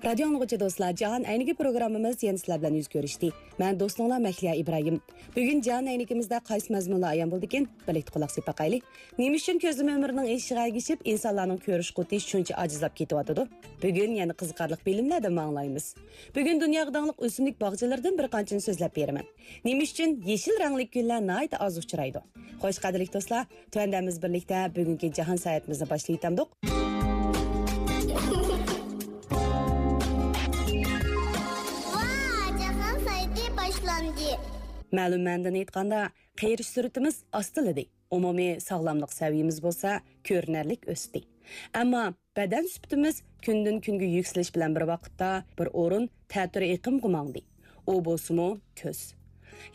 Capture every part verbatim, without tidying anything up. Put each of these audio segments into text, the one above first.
رادىيو ئاڭلىغۇچى دوستلار، جاھان ئەينىكى پروگراممىمىز يەنە سىلەر بىلەن يۈز كۆرۈشتى. مەن دوستۇڭلار مەھلىيا ئىبراھىم. بۈگۈن جاھان ئەينىكىمىزدە قايسى مەزمۇنلار ئايان بولدىكىن؟ بىرلىكتە قۇلاق سېلىپ باقايلى. نېمە ئۈچۈن كۆزلىمە ئۆمرىنىڭ ئېشىشىغا ئەگىشىپ، ئىنسانلارنىڭ كۆرۈش قۇۋۋىتى شۇنچە ئاجىزلاپ كېتىۋاتىدۇ؟ بۈگۈن يەنە قىزىقارلىق بىلىملەردىن ئاڭلايمىز. بۈگۈن دۇنياغا داڭلىق ئۆسۈملۈك باغچىلىرىدىن بىر قانچىنى سۆزلەپ بېرىمەن. نېمە ئۈچۈن يېشىل رەڭلىك گۈللەر ناھايىتى ئاز ئۇچرايدۇ؟ خوش، قەدىرلىك دوستلار، تۆۋەندە بىز بىرلىكتە بۈگۈنكى جاھان ساياھىتىمىزنى باشلىۋېتەمدۇق. ۋا، جاھان ساياھىتى باشلاندى. مەلۇم مەنىدىن ئېيتقاندا، قېرىش سۈرئىتىمىز ئاستىلىدى. ئومۇمىي ساغلاملىق سەۋىيىمىز بولسا كۆرۈنەرلىك ئۆستى. ئەمما بەدەن سۈپىتىمىز كۈندىن-كۈنگە يۈكسىلىش بىلەن بىر ۋاقىتتا بىر ئورۇن تەتۈر ئېقىمغا ماڭدى. ئۇ بولسىمۇ كۆز.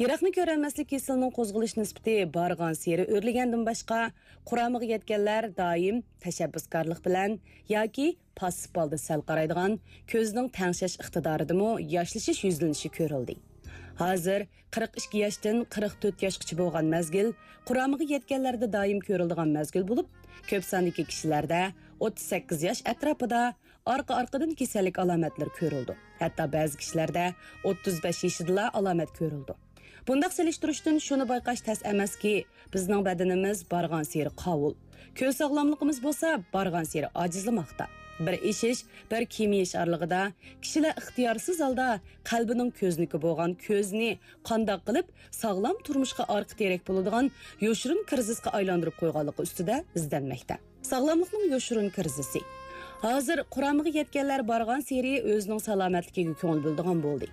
يىراقنى كۆرەلمەسلىك كېسىلىنىڭ قوزغىلىش نىسبىتى بارغانسېرى ئۆرلىگەندىن باشقا، قۇرامىغا يەتكەنلەر دائىم تەشەببۇسكارلىق بىلەن ياكى پاسسىپ ھالدا سەل قارايدىغان، كۆزنىڭ تەڭشەش ئىقتىدارىدىمۇ ياشلىشىش يۈزلىنىشى كۆرۈلدى. ھازىر قىرىق ئىككى ياشتىن قىرىق تۆت ياشقىچە بولغان مەزگىل قۇرامىغا يەتكەنلەردە دائىم كۆرۈلىدىغان مەزگىل بولۇپ، كۆپ ساندىكى كىشىلەردە ئوتتۇز سەككىز ياش ئەتراپىدا ئارقا-ئارقىدىن كېسەللىك ئالامەتلىرى كۆرۈلىدۇ. ھەتتا بەزى كىشىلەردە ئوتتۇز بەش يېشىدىلا ئالامەت كۆرۈلىدۇ. بۇنداق سېلىشتۇرۇشتىن شۇنى بايقاش تەس ئەمەسكى، بىزنىڭ بەدىنىمىز بارغانسېرى قاۋۇل، كۆز ساغلاملىقىمىز بولسا بارغانسېرى ئاجىزلىماقتا. بىر ئېشىش، بىر كېمىيىش ئارىلىقىدا كىشىلەر ئىختىيارسىز ھالدا قەلبىنىڭ كۆزنىكى بولغان كۆزنى قانداق قىلىپ ساغلام تۇرمۇشقا ئارقا تىرەك بولىدىغان يوشۇرۇن كىرىزىسقا ئايلاندۇرۇپ قويغانلىقى ئۈستىدە ئىزدەنمەكتە. ساغلاملىقنىڭ يوشۇرۇن كىرىزىسى. ھازىر قۇرامىغا يەتكەنلەر بارغانسېرى ئۆزىنىڭ سالامەتلىكىگە كۆڭۈل بۆلىدىغان بولدى.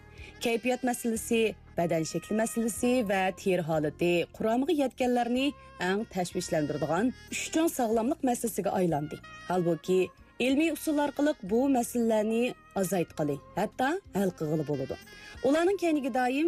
كەيپىيات مەسىلىسى، بەدەن شەكلى مەسىلىسى ۋە تېرە ھالىتى قۇرامىغا يەتكەنلەرنى ئەڭ تەشۋىشلەندۈرىدىغان ئۈچ چوڭ ساغلاملىق مەسىلىسىگە ئايلاندى. ھالبۇكى، ئىلمىي ئۇسۇل ئارقىلىق بۇ مەسىلىلەرنى ئازايتقىلى، ھەتتا ھەل قىلغىلى بولىدۇ. ئۇلارنىڭ كەينىگە دائىم